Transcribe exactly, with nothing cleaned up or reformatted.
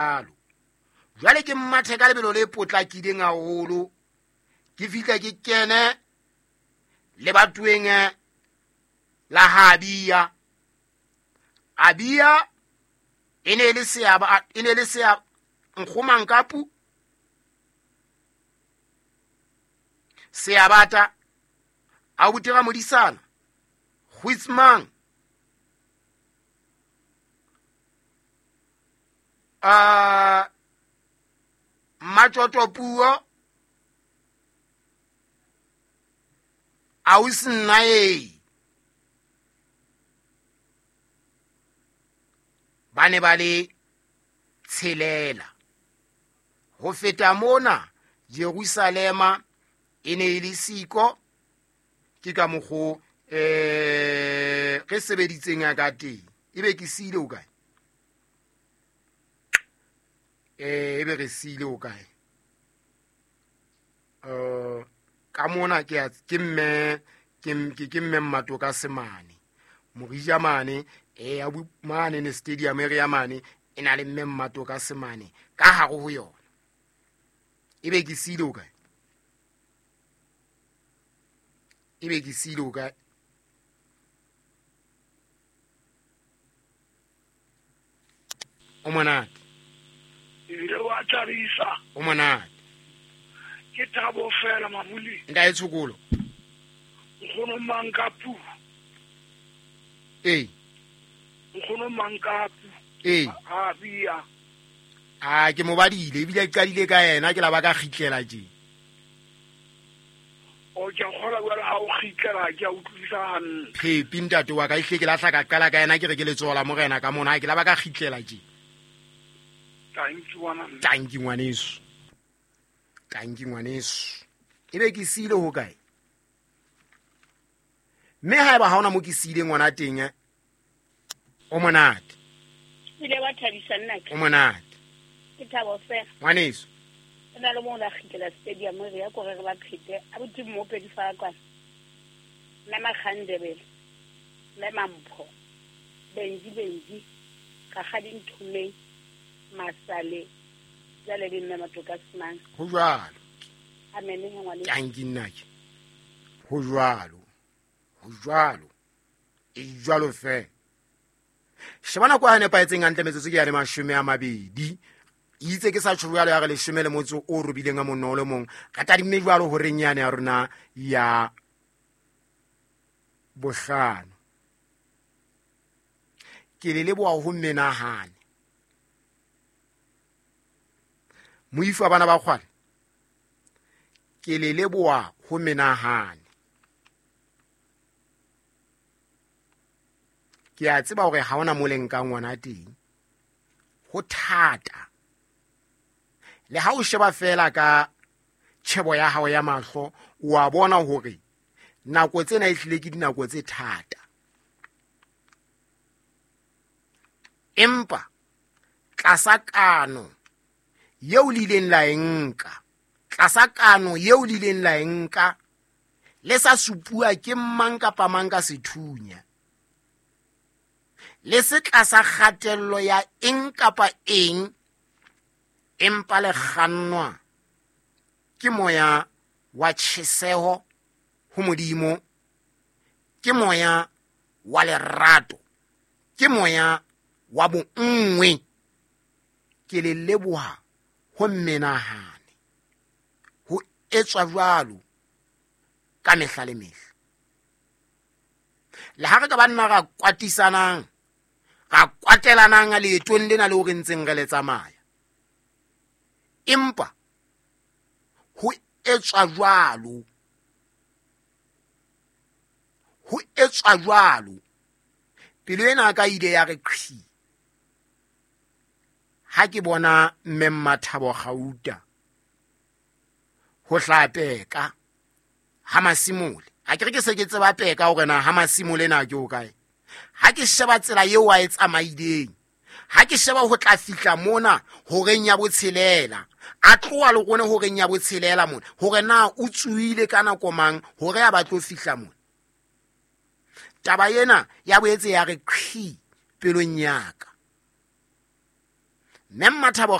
Jwalo jwale ke mmathe ka lebelo le potlakileng haholo, ke fihle ke kene lebatoweng la ha Abia. Abia e ne le seaba, e ne le sea Nkgomankapu, Seabata, abuti ra Modisana, Goitsmang, uh, Machoto Puo, ausi nnae ba ne ba le tshelela. Ho feta mona Jerusalema e ne e le siko. Ke ka mokgo eh re sebeditseng ka teng. Ebe ke siile o kae? Eh ebe re siile o kae? Eh ka mona ke ke mme ke ke ke mme Mmatoka Semane. Morija mane eh abu mane ne stadium area mane e na le mme Mmatoka Semane ka hare ho yona. Ebe ke siile o kae? Ebe ke siile o kae? O monate. Ebile wa thabisa. O monate. Ke thabo fela Mabuli. Ntae Tshokolo. Nkgono Mankapu. Ee. Nkgono Mankapu. Ee. A bia. Ah, ke mo badile ebile ke qadile ka yena ke la ba ka kgitlela tje. O ke kgola jwale ha o kgitlela ke a utlwisa hantle. Phepi ntate wa ka ehle ke lahla ka qala ka yena ke re ke letsoho la morena ka mona ke la ba ka kgitlela tje. Thank you ngwana. Thank you ngwaneso. Thank you ngwaneso. Ebe ke siile ho kae? Mme haeba ha ona mo ke siile ngwana teng o monate. Ile wa thabisa nna ke. O monate. Ke thabo fela. Ngwaneso. Nna le mona kgitlela stadium re ya kore re ba phete a buti mopedi fa kwa. Mme Makhandebele. Mme Mampho. Benji Benji. Ka ga dinthumeng. Masale. Jale le mme Matoka Semane. Ho jwalo. Amen he ngwane. Thank you nna ke. Ho jwalo. Ho jwalo. E jwalo fe. Sheba nako ya nepahetseng hantle metsotso ke ya le mashome a mabedi. Itse ke sa tjho jwalo ya re leshome le motso o robileng a monno le mong. Re tadimme jwalo horeng yane ya rona ya bohlano. Ke le leboha ho menahane. Moifo wa bana ba kgwale. Ke le leboha ho menahane. Ke a tseba hore ha hona mo le nkang ngwana teng. Ho thata. Le ha o sheba fela ka tjhebo ya hao ya mahlo, o a bona hore nako tsena e hlile ke dinako tse thata. Empa tlasa kano eo le ileng la e nka, tlasa kano eo le ileng la e nka, le sa supuwa ke mang kapa mang ka sethunya. Le se tlasa kgatello ya eng kapa eng, empa le kgannwa ke moya wa tjheseho ho Modimo, ke moya wa lerato, ke moya wa bonngwe. Ke le leboha ho menahane, ho etswa jwalo ka mehla le mehla. Le ha re ka ba nna ra kwatisanang, ra kwatelanang leetong lena leo re ntseng re le tsamaya, empa ho etswa jwalo, ho etswa jwalo. Pelo ena ka ile ya re qhi ha ke bona mme Mmathabo Gauta ho hla peka ha Masimole. Ha ke re ke se ke tseba peka hore na ha Masimole na ke o kae. Ha ke sheba tsela eo a e tsamaileng, ha ke sheba ho tla fihla mona horeng ya botshelela, a tloha le rone horeng ya botshelela mona, hore na o tsuile ka nako mang hore a batlo fihla mona. Taba ena ya boetse ya re qhi pelong ya ka. Mme Mmathabo